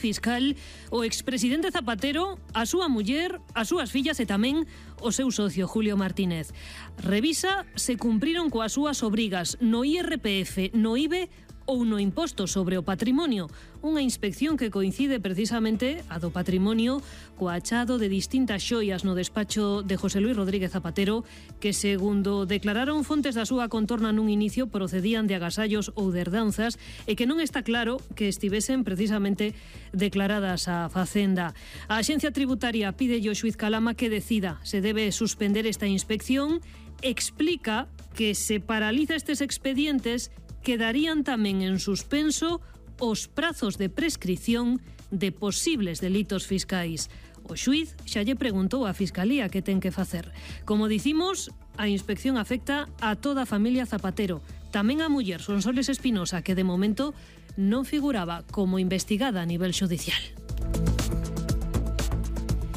fiscal, o expresidente Zapatero, a súa muller, as súas fillas e tamén o seu socio Julio Martínez. Revisa se cumpriron coas súas obrigas no IRPF, no IBE ou no imposto sobre o patrimonio, unha inspección que coincide precisamente a do patrimonio co achado de distintas xoias no despacho de José Luis Rodríguez Zapatero que, segundo declararon fontes da súa contorna nun inicio, procedían de agasallos ou de herdanzas e que non está claro que estivesen precisamente declaradas á Facenda. A Axencia Tributaria pide ao xuiz Calama que decida se debe suspender esta inspección. Explica que se paraliza estes expedientes quedarían tamén en suspenso os prazos de prescrición de posibles delitos fiscais. O xuiz xa lle preguntou á Fiscalía que ten que facer. Como dicimos, a inspección afecta a toda a familia Zapatero, tamén a muller Sonsoles Espinosa, que de momento non figuraba como investigada a nivel xudicial.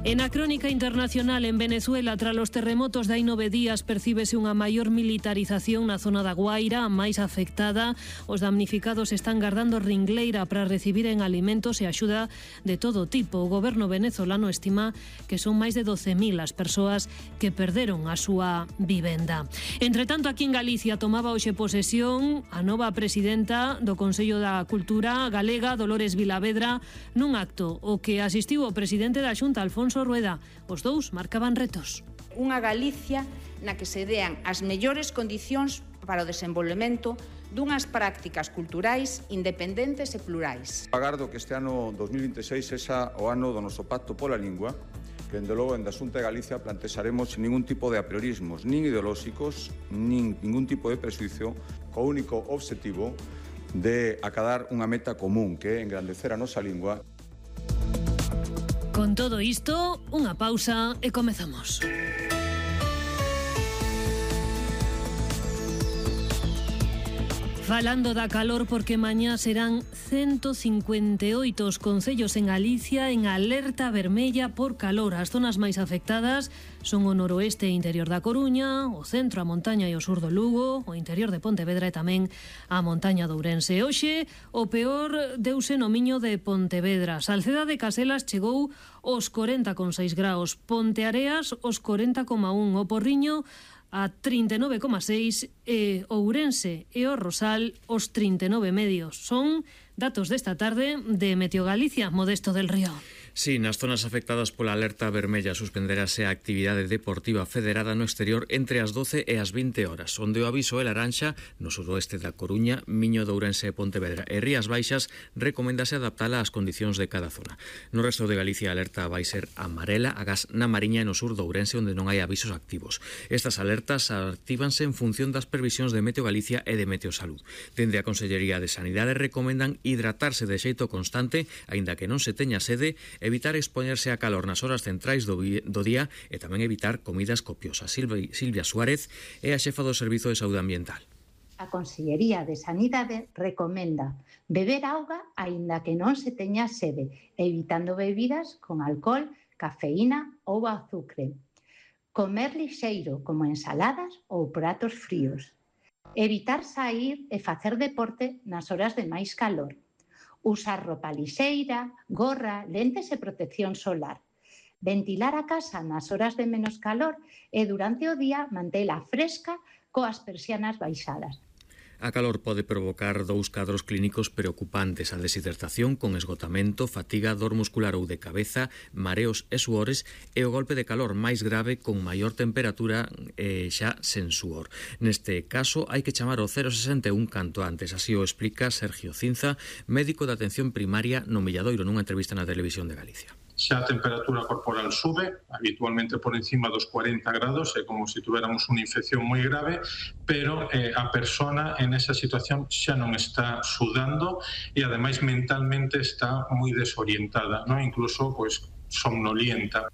En a crónica internacional, en Venezuela, tras os terremotos de hai 9 días, percíbese unha maior militarización na zona da Guaira, a máis afectada. Os damnificados están gardando ringleira para recibiren alimentos e axuda de todo tipo. O goberno venezolano estima que son máis de 12.000 as persoas que perderon a súa vivenda. Entre tanto, aquí en Galicia tomaba hoxe posesión a nova presidenta do Consello da Cultura Galega, Dolores Vilavedra, nun acto o que asistiu o presidente da Xunta, Alfonso Rueda. Os dous marcaban retos. Unha Galicia na que se dean as mellores condicións para o desenvolvemento dunhas prácticas culturais independentes e plurais. Agardo que este ano 2026 sexa o ano do noso pacto pola lingua, que dende logo en da Xunta de Galicia plantexaremos sin ningún tipo de apriorismos, nin ideolóxicos, nin ningún tipo de presuizo, co único obxectivo de acadar unha meta común, que é engrandecer a nosa lingua. Con todo isto, unha pausa e comezamos. Falando da calor, porque mañá serán 158 os concellos en Galicia en alerta vermella por calor. As zonas máis afectadas son o noroeste e interior da Coruña, o centro, a montaña e o sur do Lugo, o interior de Pontevedra e tamén a montaña de Ourense. Hoxe, o peor deuse no Miño de Pontevedra. Salceda de Caselas chegou aos 40,6 graus, Ponteareas aos 40,1, o Porriño a 39,6 e Ourense e o Rosal os 39 medios. Son datos desta tarde de Meteo Galicia, Modesto del Río. Sí, nas zonas afectadas pola alerta vermella suspenderase a actividade deportiva federada no exterior entre as 12 e as 20 horas, onde o aviso é laranxa no suroeste da Coruña, Miño de Ourense e Pontevedra e Rías Baixas recomendase adaptala ás condicións de cada zona. No resto de Galicia a alerta vai ser amarela, agás na Mariña e no sur do Ourense, onde non hai avisos activos. Estas alertas actívanse en función das previsións de Meteo Galicia e de Meteo Salud. Dende a Consellería de Sanidade recomendan hidratarse de xeito constante, aínda que non se teña sede, evitar expoñerse a calor nas horas centrais do día e tamén evitar comidas copiosas. Silvia Suárez é a xefa do Servizo de Saúde Ambiental. A Consellería de Sanidade recomenda beber auga aínda que non se teña sede, evitando bebidas con alcohol, cafeína ou azucre. Comer lixeiro, como ensaladas ou pratos fríos. Evitar saír e facer deporte nas horas de máis calor. Usar roupa lixeira, gorra, lentes e protección solar. Ventilar a casa nas horas de menos calor e durante o día mantela fresca coas persianas baixadas. A calor pode provocar dous cadros clínicos preocupantes: a deshidratación con esgotamento, fatiga, dor muscular ou de cabeza, mareos e suores, e o golpe de calor máis grave con maior temperatura e xa sen suor. Neste caso hai que chamar ao 061 canto antes, así o explica Sergio Cinza, médico de atención primaria no Milladoiro, nunha entrevista na Televisión de Galicia. Xa a temperatura corporal sube, habitualmente por encima dos 40 grados, é como se tuviéramos unha infección moi grave, pero a persona en esa situación xa non está sudando e ademais mentalmente está moi desorientada, non? Incluso somnolienta.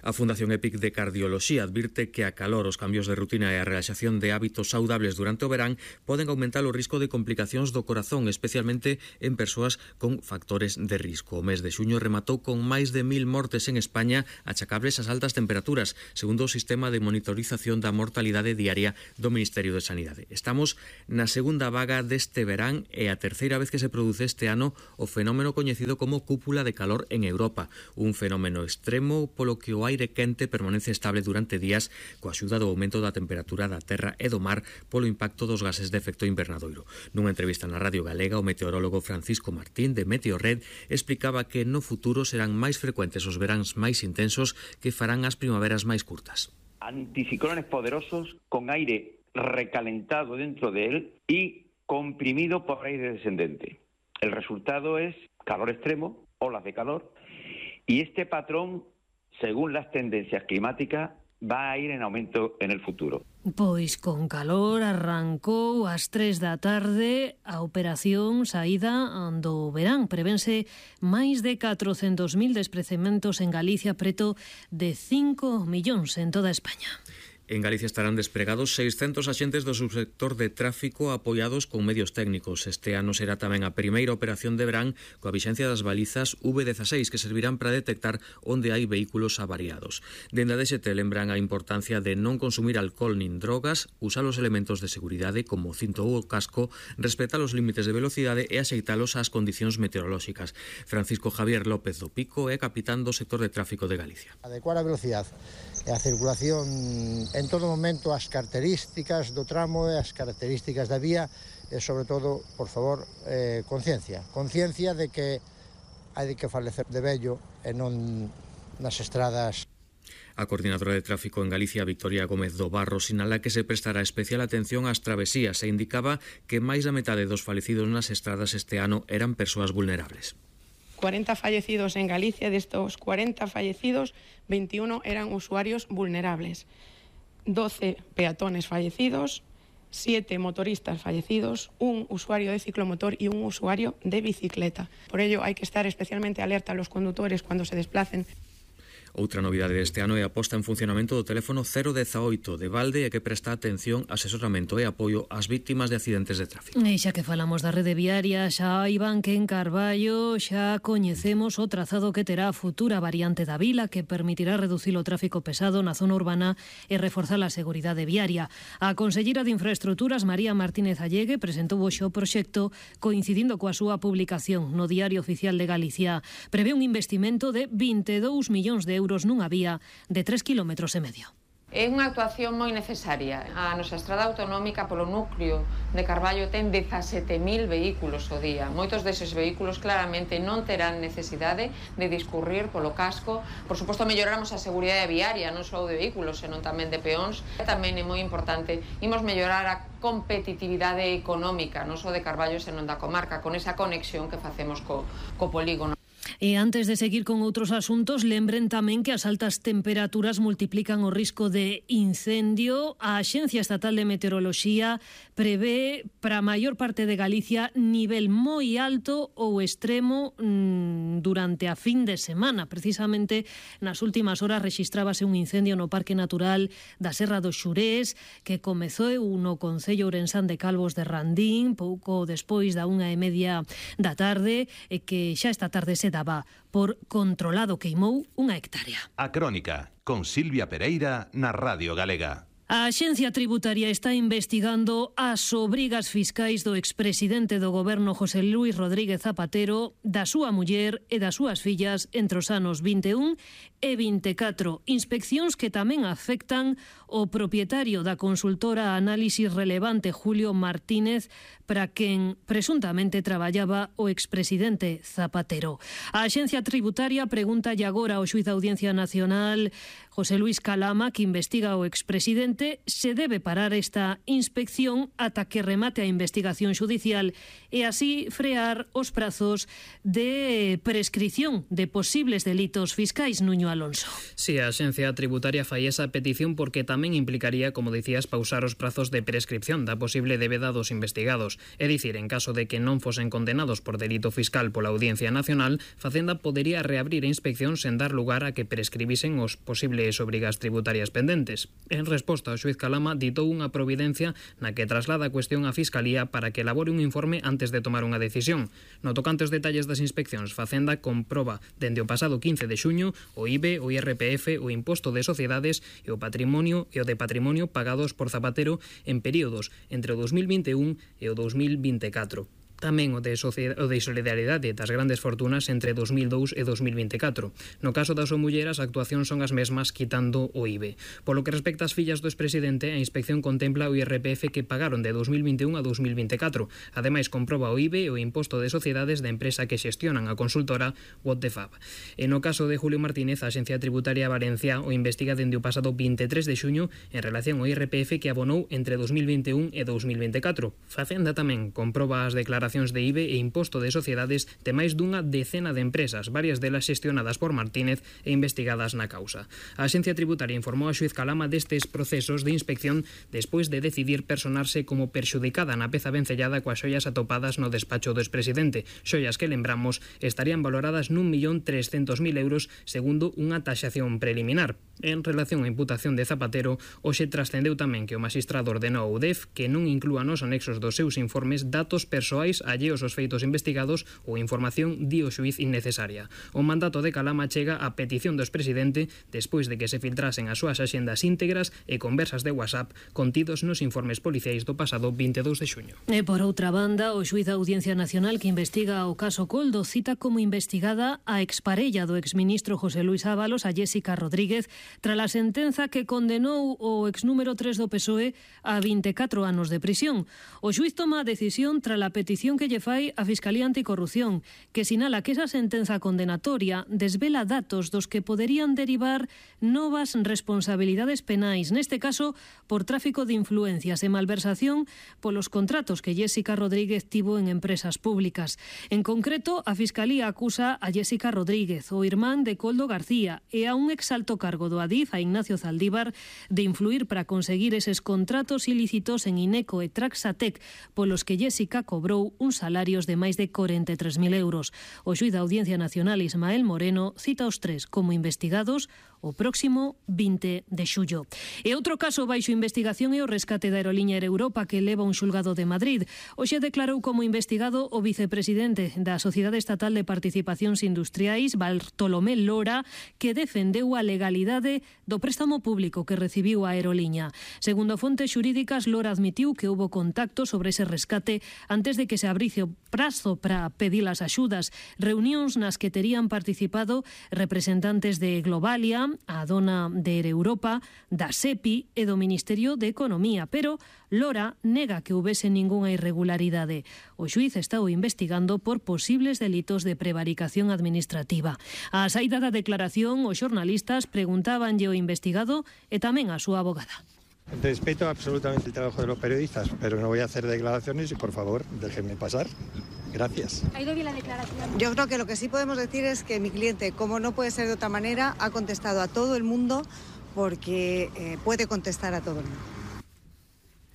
A Fundación EPIC de Cardioloxía advirte que a calor, os cambios de rutina e a relaxación de hábitos saudables durante o verán poden aumentar o risco de complicacións do corazón, especialmente en persoas con factores de risco. O mes de xuño rematou con máis de 1000 mortes en España achacables ás altas temperaturas, segundo o sistema de monitorización da mortalidade diaria do Ministerio de Sanidade. Estamos na segunda vaga deste verán e a terceira vez que se produce este ano o fenómeno coñecido como cúpula de calor en Europa, un fenómeno extremo polo que o aire quente permanece estable durante días coa axuda do aumento da temperatura da terra e do mar polo impacto dos gases de efecto invernadoiro. Nunha entrevista na Radio Galega, o meteorólogo Francisco Martín de Meteorred explicaba que no futuro serán máis frecuentes os veráns máis intensos que farán as primaveras máis curtas. Anticiclones poderosos con aire recalentado dentro de él y comprimido por aire descendente. El resultado es calor extremo, olas de calor, y este patrón, según las tendencias climáticas, va a ir en aumento en el futuro. Pois con calor arrancou ás 3 da tarde a operación saída do verán. Prevense máis de 400.000 desprazamentos en Galicia, preto de 5 millóns en toda España. En Galicia estarán despregados 600 axentes do subsector de tráfico apoiados con medios técnicos. Este ano será tamén a primeira operación de verán coa vixencia das balizas V16 que servirán para detectar onde hai vehículos avariados. Dende a DST lembran a importancia de non consumir alcohol nin drogas, usar os elementos de seguridade como o cinto ou o casco, respetar os límites de velocidade e axeitalos ás condicións meteorolóxicas. Francisco Javier López do Pico é capitán do sector de tráfico de Galicia. Adecuar a velocidade e a circulación en todo momento, as características do tramo e as características da vía e, sobre todo, por favor, conciencia. Conciencia de que hai que falecer de vello e non nas estradas. A coordinadora de tráfico en Galicia, Victoria Gómez do Barro, sinala que se prestará especial atención ás travesías e indicaba que máis da metade dos falecidos nas estradas este ano eran persoas vulnerables. 40 fallecidos en Galicia, de estos 40 fallecidos, 21 eran usuarios vulnerables. 12 peatones fallecidos, 7 motoristas fallecidos, un usuario de ciclomotor y un usuario de bicicleta. Por ello hay que estar especialmente alerta a los conductores cuando se desplacen. Outra novidade deste ano é a posta en funcionamento do teléfono 018 de Valde e que presta atención, asesoramento e apoio ás vítimas de accidentes de tráfico. E xa que falamos da rede viaria, xa Iván que en Carballo xa coñecemos o trazado que terá a futura variante da vila que permitirá reducir o tráfico pesado na zona urbana e reforzar a seguridade viaria. A conselleira de Infraestructuras, María Martínez Allegue, presentou hoxe o proxecto coincidindo coa súa publicación no Diario Oficial de Galicia. Prevé un investimento de 22 millóns de euros nunha vía de 3,5 km. É unha actuación moi necesaria. A nosa estrada autonómica polo núcleo de Carballo ten 17.000 vehículos ao día. Moitos deses vehículos claramente non terán necesidade de discurrir polo casco. Por suposto, melloramos a seguridade viaria, non só de vehículos, senón tamén de peóns. Tamén é moi importante, imos mellorar a competitividade económica, non só de Carballo, senón da comarca, con esa conexión que facemos co polígono. E antes de seguir con outros asuntos, lembren tamén que as altas temperaturas multiplican o risco de incendio. A Axencia Estatal de Meteoroloxía prevé para a maior parte de Galicia nivel moi alto ou extremo durante a fin de semana. Precisamente nas últimas horas rexistrábase un incendio no Parque Natural da Serra dos Xurés que comezou no Concello Ourensán de Calvos de Randín pouco despois da 1:30 da tarde e que xa esta tarde se daba por controlado, queimou unha hectárea. A Crónica, con Silvia Pereira na Radio Galega. A Axencia Tributaria está investigando as obrigas fiscais do expresidente do goberno José Luis Rodríguez Zapatero, da súa muller e das súas fillas entre os anos 21 e 24. Inspeccións que tamén afectan o propietario da consultora Análisis Relevante, Julio Martínez, para quen presuntamente traballaba o expresidente Zapatero. A Axencia Tributaria pregunta agora ao xuiz da Audiencia Nacional, José Luis Calama, que investiga o expresidente, se debe parar esta inspección ata que remate a investigación xudicial e así frear os prazos de prescrición de posibles delitos fiscais. Nuño Alonso. Si, a Axencia Tributaria fai esa petición porque tamén implicaría, como dicías, pausar os prazos de prescripción da posible débeda dos investigados. anos. É dicir, en caso de que non fosen condenados por delito fiscal pola Audiencia Nacional, Facenda podería reabrir a inspección sen dar lugar a que prescribisen os posibles obrigas tributarias pendentes. En resposta, o xuiz Calama ditou unha providencia na que traslada a cuestión á Fiscalía para que elabore un informe antes de tomar unha decisión. No tocante aos detalles das inspeccións, Facenda comproba dende o pasado 15 de xuño o IBE, o IRPF, o imposto de sociedades e o de patrimonio pagados por Zapatero en períodos entre o 2021 e o 2024. Tamén o de solidariedade das grandes fortunas entre 2002 e 2024. No caso das mulleras, a actuación son as mesmas quitando o IBE. Polo que respecta ás fillas do expresidente, a inspección contempla o IRPF que pagaron de 2021 a 2024. Ademais, comproba o IBE e o imposto de sociedades da empresa que xestionan a consultora What the Fab. E no caso de Julio Martínez, a Axencia Tributaria Valencia o investiga dende o pasado 23 de xuño en relación ao IRPF que abonou entre 2021 e 2024. Facenda tamén comproba as declaracións de IBE e imposto de sociedades de máis dunha decena de empresas, varias delas xestionadas por Martínez e investigadas na causa. A Axencia Tributaria informou a xuiz Calama destes procesos de inspección despois de decidir personarse como perxudicada na peza vencellada coas xoias atopadas no despacho do expresidente, xoias que, lembramos, estarían valoradas n'1.300.000 euros segundo unha taxación preliminar. En relación á imputación de Zapatero, hoxe trascendeu tamén que o magistrado ordenou ao UDEF que non inclúa nos anexos dos seus informes datos persoais alleos aos feitos investigados ou información di o xuiz innecesaria. O mandato de Calama chega a petición do expresidente despois de que se filtrasen as súas axendas íntegras e conversas de WhatsApp contidos nos informes policiais do pasado 22 de xuño. E por outra banda, o xuiz da Audiencia Nacional que investiga o caso Coldo cita como investigada a exparella do exministro José Luis Ábalos, a Jéssica Rodríguez, tras a sentenza que condenou o exnúmero 3 do PSOE a 24 anos de prisión. O xuiz toma a decisión tras a petición que lle fai a Fiscalía Anticorrupción, que sinala que esa sentenza condenatoria desvela datos dos que poderían derivar novas responsabilidades penais, neste caso por tráfico de influencias e malversación polos contratos que Jéssica Rodríguez tivo en empresas públicas. En concreto, a Fiscalía acusa a Jéssica Rodríguez, o irmán de Coldo García, e a un exalto cargo do Adif, a Ignacio Zaldívar, de influir para conseguir eses contratos ilícitos en Ineco e Traxatec, polos que Jéssica cobrou uns salarios de máis de 43.000 euros. O xuiz da Audiencia Nacional, Ismael Moreno, cita os tres como investigados o próximo 20 de xullo. E outro caso baixo investigación é o rescate da aeroliña Air Europa que leva un xulgado de Madrid. Hoxe declarou como investigado o vicepresidente da Sociedade Estatal de Participacións Industriais, Bartolomé Lora, que defendeu a legalidade do préstamo público que recibiu a aeroliña. Segundo fontes xurídicas, Lora admitiu que houbo contacto sobre ese rescate antes de que se abrice o prazo para pedir as axudas, reunións nas que terían participado representantes de Globalia, a dona de Air Europa, da SEPI e do Ministerio de Economía, pero Lora nega que houbese ningunha irregularidade. O xuiz está investigando por posibles delitos de prevaricación administrativa. A saída da declaración, os xornalistas preguntábanlle ao investigado e tamén a súa abogada. Respeto absolutamente el trabajo de los periodistas, pero no voy a hacer declaraciones y, por favor, déjenme pasar. Gracias. ¿Ha ido bien la declaración? Yo creo que lo que sí podemos decir es que mi cliente, como no puede ser de otra manera, ha contestado a todo el mundo porque puede contestar a todo el mundo.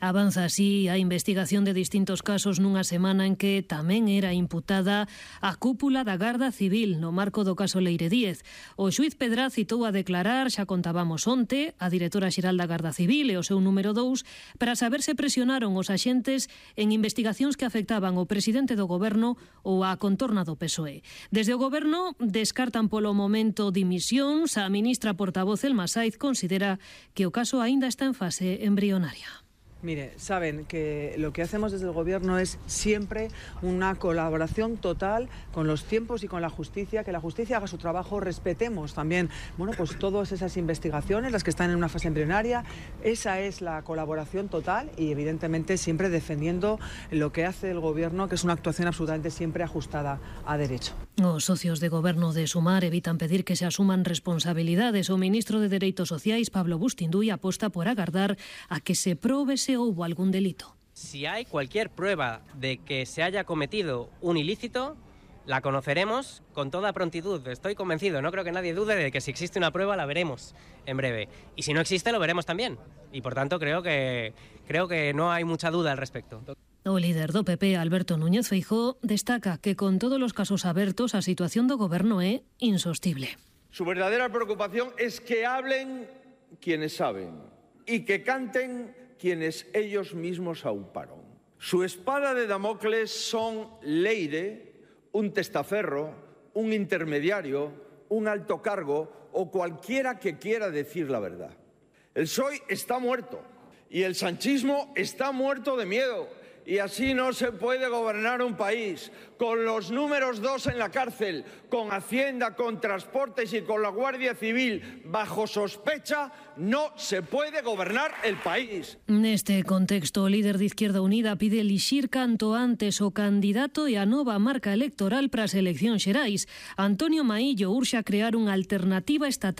Avanza así a investigación de distintos casos nunha semana en que tamén era imputada a cúpula da Garda Civil no marco do caso Leire Díez. O xuiz Pedraz citou a declarar, xa contábamos onte, a directora xeral da Garda Civil e o seu número 2 para saber se presionaron os axentes en investigacións que afectaban o presidente do goberno ou a contorna do PSOE. Desde o goberno descartan polo momento dimisións. A ministra portavoz Elma Saiz considera que o caso aínda está en fase embrionaria. Mire, saben que lo que hacemos desde el Gobierno es siempre una colaboración total con los tiempos y con la justicia, que la justicia haga su trabajo, respetemos también, pues todas esas investigaciones, las que están en una fase embrionaria. Esa es la colaboración total y evidentemente siempre defendiendo lo que hace el Gobierno, que es una actuación absolutamente siempre ajustada a derecho. Os socios de goberno de Sumar evitan pedir que se asuman responsabilidades. O ministro de Dereitos Sociais, Pablo Bustinduy, aposta por agardar a que se probe se hubo algún delito. Si hay cualquier prueba de que se haya cometido un ilícito, la conoceremos con toda prontitud. Estoy convencido, no creo que nadie dude de que si existe una prueba la veremos en breve. Y si no existe, lo veremos también. Y por tanto creo que no hay mucha duda al respecto. O líder do PP, Alberto Núñez Feijóo, destaca que con todos los casos abertos a situación do goberno é insostible. Su verdadera preocupación es que hablen quienes saben y que canten quienes ellos mismos auparon. Su espada de Damocles son Leire, un testaferro, un intermediario, un alto cargo o cualquiera que quiera decir la verdad. El PSOE está muerto y el sanchismo está muerto de miedo. Y así no se puede gobernar un país, con los números 2 en la cárcel, con Hacienda, con Transportes y con la Guardia Civil bajo sospecha, no se puede gobernar el país. Neste contexto, o líder de Izquierda Unida pide elixir canto antes o candidato e a nova marca electoral para as eleccións xerais. Antonio Maillo urxa crear unha alternativa estatal